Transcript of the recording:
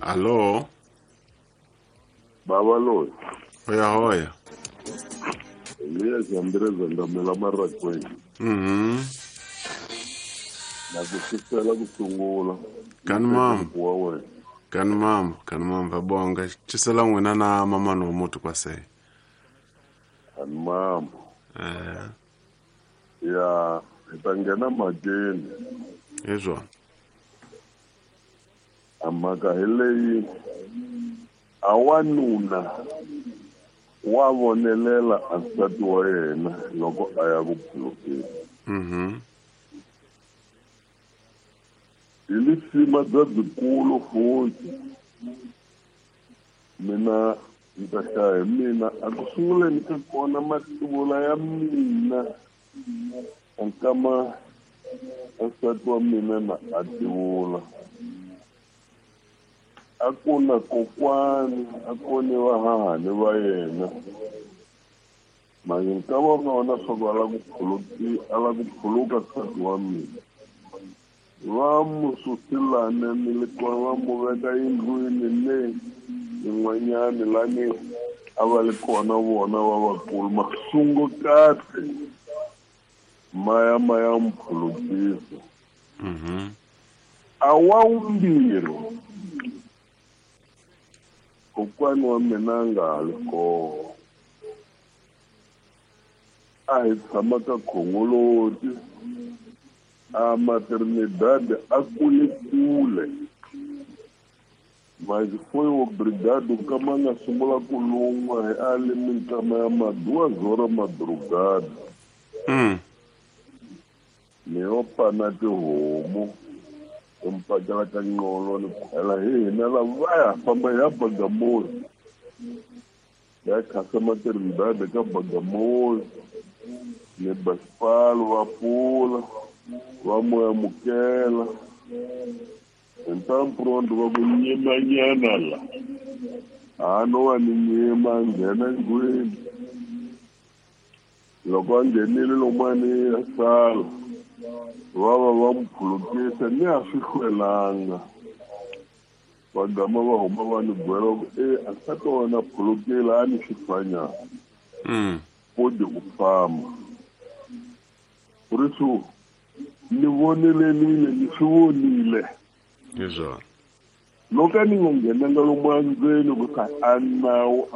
Alo. Baba loyi. Hoya hoya. Elias Andres Ndamela Marakweni. Na ku xisela ku sungula. Kani mama. Wa wena. Kani mama, kani mama vabonga. Xisela n'wina na mamani wa muti kwase. Kani mama. Ya, hi ta nghena mhakeni. Hi swona. A mhaka hi leyi a wanuna wa vonelela a nsati wa yena loko a ya ku phulukeni. Hi lisima bya byikulu futhi. Mina ndzi ta hlaya hi mina a ku sunguleni ka kona mativula ya mina a nkama a nsati wa mina na a tivula. A ku na kokwani a ku ni vahahani va yena. Manje nkama va vona swa ku a la ku phuluka nsati wa mina. Va mu susilane ni le kona va mu veka yindlwini le yin'wanyani lani a va li kona vona va vakulu masungu kahle maya maya mu phulukisa. A wa vumbirhi kokwani wa mina a nga ha li kona. A hi tshama ka Khongoloti a maternidade a kule kule. Maxifoyo brigade kama nga sungula ku lun'wa hi a li minkama ya maduwa zora madrugada. Ni yo pana tihomu u mpakela ka nqolo ni khwela hi hina lava ya famba ya Bagamoyo. Ya khasa maternidade ka Bagamoyo. Ni basipalo va pfula va mu amukela. Hi ntampurondo va ku nyimanyana la. A no va ni nyima nghena ndlwini. Loko a nghenile lomani ya sala va va va mu phulukisa ni a swi hlwelanga. Va gama va huma va ni byela ku a nsati wa wena phulukile a ni xifanyana. Kodi ku famba. Ku ri swo ni vonelenile ni swi vonile. Hi swona. Loko a ni nga nghenanga lomu endzeni ku ta a nawu